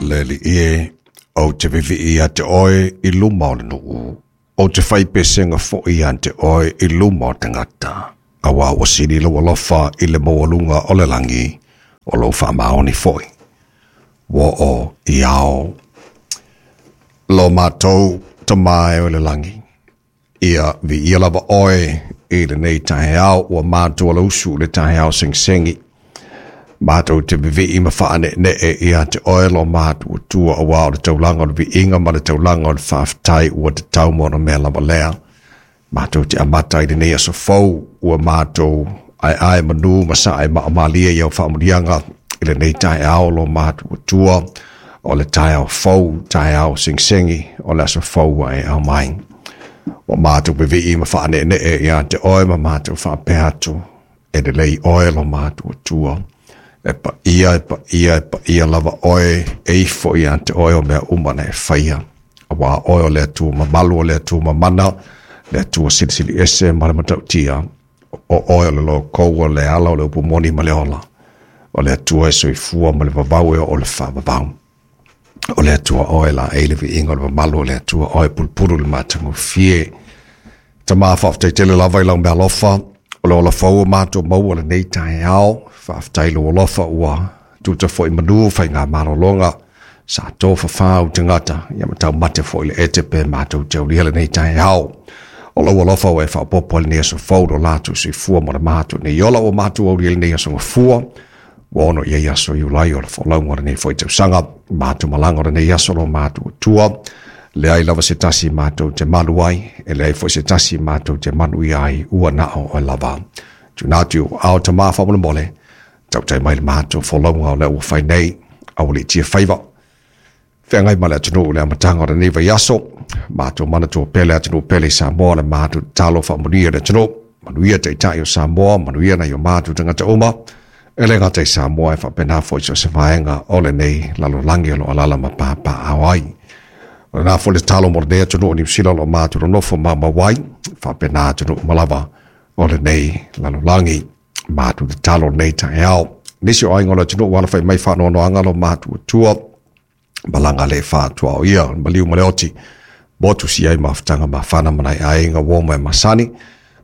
Le Alii e, ou te vevii ia te oe i luma o le nuu, ou te fai pesega foi ia te oe i luma o tagata, auā ua sili lou alofa i le maualuga o le lagi, o lou faamaoni foi. Ua oo i ao. Lo matou Tama e o i le lagi, ia viia lava oe i lenei taeao ua matou alausu i le taeao segisegi. Matou te vevii ma faaneenee ia te oe lo matou Atua auā o le taulaga o le viiga ma le taulaga o le faafetai ua tatau ma ona mea lava lea. Matou te amata i lenei aso fou ua matou aeae manu ma sae maamalie i au faamanuiaga i lenei taeao lo matou Atua o le taeao fou, taeao segisegi o le aso fou ua e aumai. Ua matou vevii ma faaneenee ia te oe ma matou faapea atu, e lelei oe lo matou Atua. E paia, e paia, e paia lava oe, e ifo ia te oe o mea uma na e faia. Auā oe o le Atua mamalu, o le Atua mamana, le Atua silisili ese ma le matautia. O oe o le lokou, o le ala, o le upu moni ma le ola. O le Atua e soifua ma le vavau e oo i le faavavau. O le Atua oe laei le viiga o le mamalu, o le Atua oe pulupulu le matagofie. Tama, faafetai tele lava i lau meaalofa, o le ola fou ua matou maua lenei taeao. Faafetai lou alofa ua tuta foi manu faiga malologa sa tofafā ou tagata, ia ma taumate foi le ete pe matou te aulia lenei taeao. O lou alofa ua e faaopoopo ai lenei aso fou lo latou soifua ma le matou nei ola ua matou aulia lenei aso gafua. Ua ono i ai aso Iulai o le folauga o lenei foi tausaga, matou malaga o lenei aso lo matou Atua. Leai lava se tasi matou te malu ai, e leai foi se tasi matou te manuia ai, ua na o oe lava. Tuuina atu i ou aao Tama faamolemole, tautai mai le matou folauga o lea ua fai nei, aualiitia faiva. Feagai ma le atunuu i le amataga o lenei vaiaso, matou manatua pea le atunuu pele i Samoa, le matou tatalo faamanuia le atunuu, manuia taitai o Samoa, manuia nai o matou tagata uma, e le gata i Samoa e faapena foi so o se vaega o lenei lalolagi o lo o alaala ma papaaao ai. O lena foi le tatalo mo lenei atunuu o Niu Sila o lo o matou nonofo maumau ai, faapena atunuu uma lava o lenei lalolagi. Matou tatalo lenei taeao. Nisi o aiga o le atunuu ua alafai mai faanoanoaga lo matou Atua, malaga le faatuaoia, o le maliu ma le oti, motu si ai mafutaga mafana ma nai aiga uo ma e masani.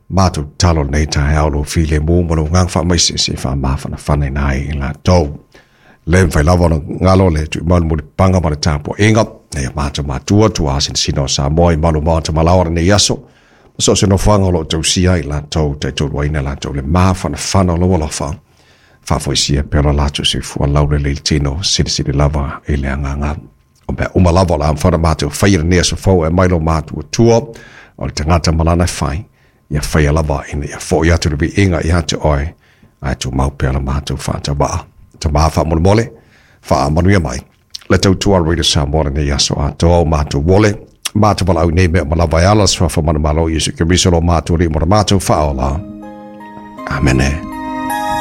Matou tatalo lenei taeao lou filemu ma lou agaga faamaise se i faamafanafana ai i latou. Le mafai lava ona galo le tuimau mulipapaga ma le tapuaiga nei a matou matua tuā sinasina o Samoa i malu maota malaoa lenei aso. Ma so o se nofoaga o lo o tausia ai latou taitoluaina latou le mafanafana o lou alofa. Faafoisia pea lo latou soifua laulelei i le tino, silisili lava i le agaga. O mea uma lava o le a mafai ona matou faia lenei aso fou e aumai lo matou Atua, o le tagata ma lana e fai, ia faia lava ina ia foi atu le viiga ia te oe, ae tumau pea la matou faatauvaa. Tama faamolemole, faamanuia mai le tautua a Radio Samoa lenei aso atoa o matou ole, matou valaau nei mea uma lava e ala le suafa manumalo o Iesu Keriso lo matou Alii ma lo matou Faaola. Amene.